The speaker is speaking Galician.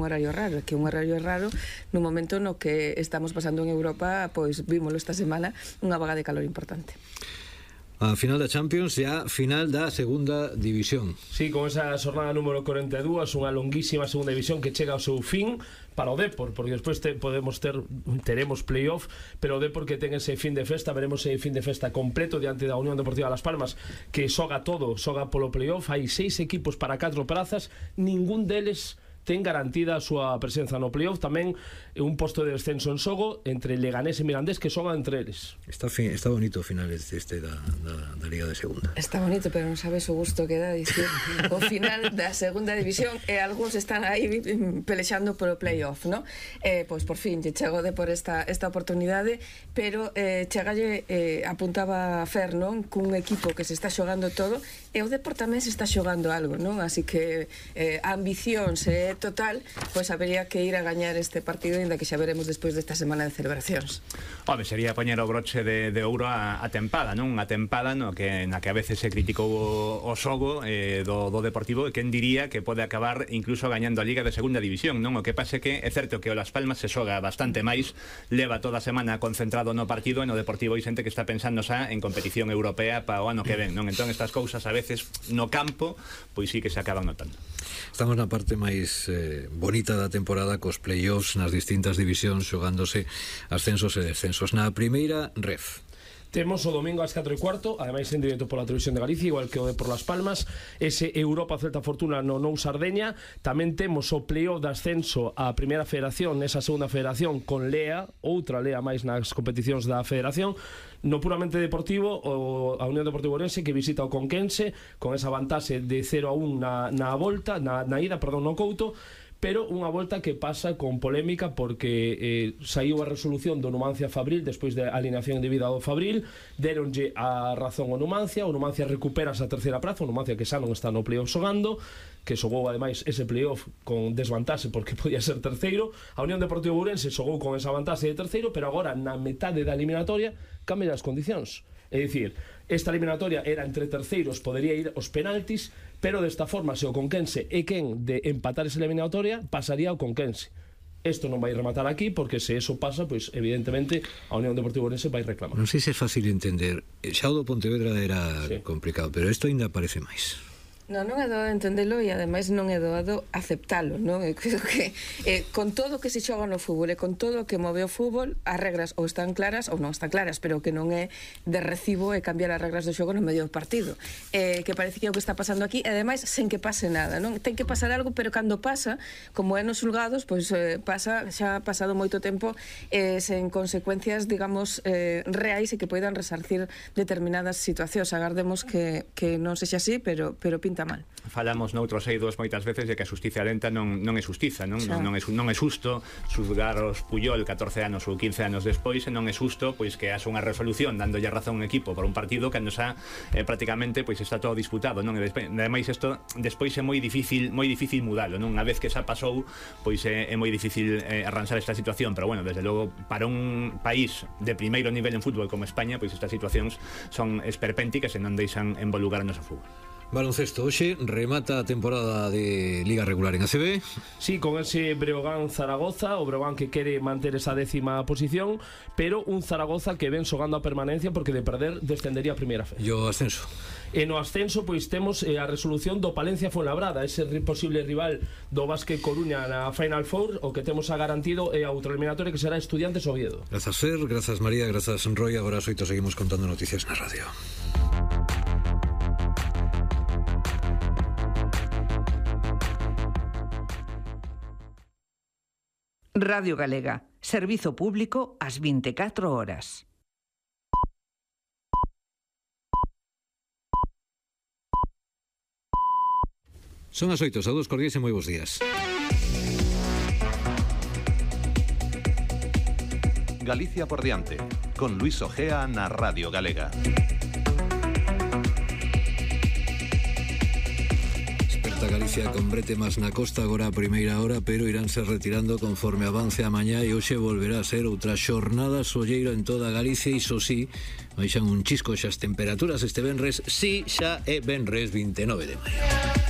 un horario raro, que un horario raro no momento no que estamos pasando en Europa, pois vímoslo esta semana, unha vaga de calor importante. A final da Champions e a final da segunda división. Sí, con esa xornada número 42, unha longuísima segunda división que chega ao seu fin para o Depor, porque despois teremos playoff, pero o Depor que ten ese fin de festa, veremos ese fin de festa completo diante da Unión Deportiva Las Palmas, que xoga polo playoff. Hai 6 equipos para 4 prazas, ningún deles ten garantida a súa presenza no playoff. Tamén un posto de descenso en xogo entre Leganés e Mirandés, que xogan entre eles. Está bonito o final da Liga de Segunda. Está bonito, pero non sabes o gusto que dá dicir o final da segunda división, e algúns están aí pelexando polo playoff, non? Pois por fin lle chego de por esta oportunidade, pero chegalle, apuntaba Fer, non? Cun equipo que se está xogando todo, e o Depor tamén se está xogando algo, non? Así que a ambición se total, pois habería que ir a gañar este partido, ainda que xa veremos despois desta semana de celebracións. Home, sería poñer o broche de ouro a tempada, non? Unha tempada na que a veces se criticou o xogo do Deportivo, e quen diría que pode acabar incluso gañando a Liga de Segunda División, non? O que pase que é certo que o Las Palmas se xoga bastante máis, leva toda a semana concentrado no partido, e no Deportivo hai xente que está pensando xa en competición europea para o ano que ven, non? Entón estas cousas a veces no campo, pois sí que se acaban notando. Estamos na parte máis bonita da temporada, cos playoffs nas distintas divisións, xogándose ascensos e descensos. Na primeira ref temos o domingo ás 4:15, ademais en directo pola Televisión de Galicia, igual que o de por Las Palmas, ese Europa Celta Fortuna no Nou Sardeña. Tamén temos o playoff de ascenso á primeira federación, nesa segunda federación, con Lea, outra Lea máis nas competicións da federación. No puramente deportivo, a Unión Deportiva Ourense, que visita o Conquense con esa vantaxe de 0-1 na volta, na ida, no Couto, pero unha volta que pasa con polémica porque saiu a resolución do Numancia Fabril despois da alineación indebida do Fabril, deronlle a razón ao Numancia, o Numancia recupera esa terceira praza, o Numancia que xa non está no playoff xogando, que xogou ademais ese playoff con desvantaxe porque podía ser terceiro. A Unión Deportiva Ourense xogou con esa vantaxe de terceiro, pero agora na metade da eliminatoria cambian as condicións. É dicir, esta eliminatoria era entre terceiros, podería ir aos penaltis, pero desta forma, se o Conquense é quen de empatar esa eliminatoria, pasaría ao Conquense. Isto non vai rematar aquí, porque se eso pasa, pois evidentemente a Unión Deportiva Ourense vai reclamar. Non sei se é fácil entender. Xa o do Pontevedra era complicado, pero isto ainda parece máis. Non é doado entendelo, e ademais non é doado aceptalo, non? Eu creo que con todo o que se xoga no fútbol e con todo o que move o fútbol, as regras ou están claras ou non están claras, pero que non é de recibo cambiar as regras do xogo no medio do partido, que parece que é o que está pasando aquí, e ademais sen que pase nada, non? Ten que pasar algo, pero cando pasa, como é nos xulgados, pois pasa, xa ha pasado moito tempo sen consecuencias, digamos, reais, e que poidan resarcir determinadas situacións. Agardemos que non sexa así, pero pinta mal. Falamos noutros eidos moitas veces de que a xustiza lenta non é xustiza, non é xusto xulgar os Puyol 14 anos ou 15 anos despois, e non é xusto pois que haxa unha resolución dándolle razón a un equipo por un partido cando xa prácticamente pois está todo disputado, non? E ademais isto despois é moi difícil mudalo, non? Unha vez que xa pasou, pois é moi difícil arranxar esta situación, pero bueno, desde logo para un país de primeiro nivel en fútbol como España, pois estas situacións son esperpénticas e non deixan envolugar o noso fútbol. Baloncesto, hoxe remata a temporada de Liga Regular en ACB. Sí, con ese Breogán-Zaragoza, o Breogán que quere manter esa 10ª posición, pero un Zaragoza que ven xogando a permanencia porque de perder descendería a primeira fe. E o ascenso? E no ascenso pois temos a resolución do Palencia Fuenlabrada, ese posible rival do Básquet Coruña na Final Four. O que temos a garantido é a outra eliminatoria que será Estudiantes Oviedo. Grazas Fer, grazas María, grazas Roy. Agora as 8 seguimos contando noticias na radio. Radio Galega, servizo público ás 24 horas. Son as 8, saúdos cordiais e moi bons días. Galicia por diante, con Luis Ojea na Radio Galega. Galicia con bretemas na costa agora a primeira hora, pero iránse retirando conforme avance a mañá, e hoxe volverá a ser outra xornada solleira en toda Galicia. Iso sí, baixan un chisco xa as temperaturas este venres, sí, xa é venres 29 de maio.